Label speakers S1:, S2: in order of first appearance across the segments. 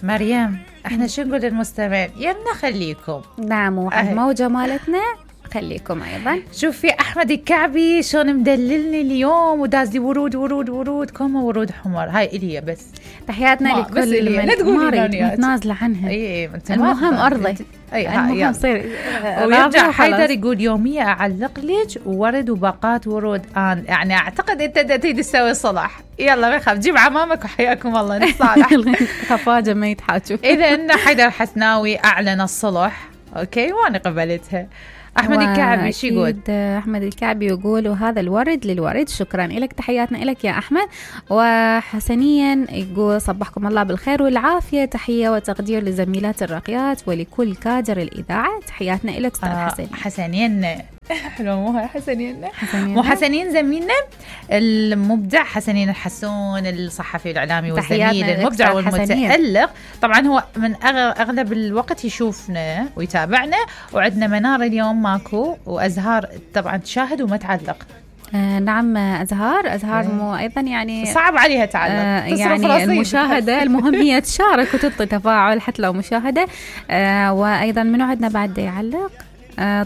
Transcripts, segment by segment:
S1: مريم احنا شو نقول للمستمعين؟ يلا خليكم.
S2: نعم، والموجة مالتنا خليكم أيضا.
S1: شوفي أحمد الكعبي شلون مدللني اليوم وداز لي ورود ورود ورود كوما ورود حمر. هاي إلي بس
S2: تحياتنا لكل من متنازلة عنها. المهم أرضي.
S1: المهم صير. ويرجع حيدر يقول يومية أعلق لك ورد وباقات ورود. يعني أعتقد أنت تريد تسوي صلح. يلا ما يخاف، جيب عمامك وحياكم الله نصالح.
S2: خفاجة ما يتحاجوا.
S1: إذا إن حيدر حسناوي أعلن الصلح أوكي وأنا قبلتها. أحمد الكعبي شو يقول؟
S2: أحمد الكعبي يقول وهذا الورد للورد. شكرا لك، تحياتنا لك يا أحمد. وحسنيا يقول صبحكم الله بالخير والعافية، تحية وتقدير لزميلات الراقيات ولكل كادر الإذاعة. تحياتنا لك أستاذ حسنين.
S1: حسنين حلو، مو هاي حسنين، مو حسنين زميلنا المبدع حسنين الحسون الصحفي الإعلامي والزميل المبدع والمتألق. طبعا هو من أغلب الوقت يشوفنا ويتابعنا، وعندنا منار اليوم ماكو، وأزهار طبعا تشاهد وما تعلق.
S2: نعم أزهار مو أيضا يعني
S1: صعب عليها تعلق
S2: يعني المشاهدة. المهم هي تشارك وتعطي تفاعل حتى لو مشاهدة. وأيضا منو عندنا بعد يعلق؟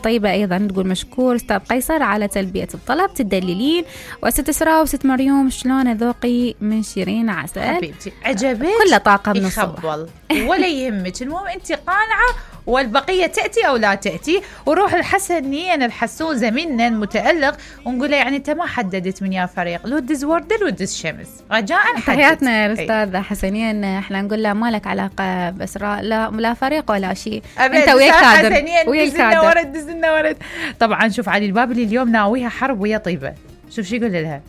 S2: طيبة أيضا تقول مشكور أستاذ قيصر على تلبية الطلب، تدللين. وست إسراء وست مريوم شلون ذوقي من شيرين عسل
S1: حبيبتي، عجبت
S2: كل طاقة من الصبح
S1: ولا يهمك، المهم أنت قانعة والبقية تأتي أو لا تأتي. وروح الحسنين الحسون زميلنا المتألق ونقول له يعني أنت ما حددت من يا فريق، لو دز وردة لو دز شمس، رجاء حدد.
S2: تحياتنا الأستاذ حسنين، احنا نقول له ما لك علاقة بإسراء، لا فريق ولا شيء، أنت ويا الكادر ويا الكادر.
S1: دزنا ورد. طبعا شوف علي البابلي اليوم ناويها حرب ويا طيبة. شوف شو يقول لها؟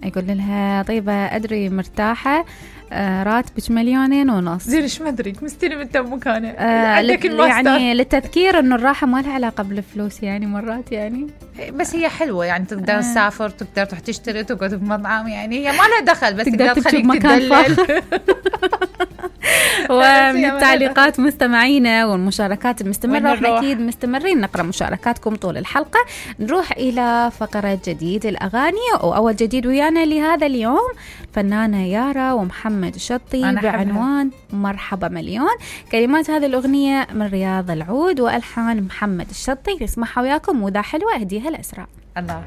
S2: يقول لها طيبة أدري مرتاحة، راتبك 2.5 مليون.
S1: زين ايش ما ادري مستلم انت مكانه. يعني
S2: للتذكير انه الراحه ما لها علاقه بالفلوس يعني مرات يعني،
S1: بس هي حلوه يعني تقدر تسافر، تقدر تروح تشتري، تقعد في مطعم، يعني هي ما لها دخل بس تقدر تخليك تدلل.
S2: ومن التعليقات مستمعينا والمشاركات المستمرة، احنا اكيد مستمرين نقرأ مشاركاتكم طول الحلقة. نروح إلى فقرة جديد الأغاني، وأول جديد ويانا لهذا اليوم فنانة يارا ومحمد الشطي بعنوان مرحبا مليون. كلمات هذه الأغنية من رياض العود وألحان محمد الشطي. نسمعها وياكم، وذا حلوة أهديها لأسراء.
S1: الله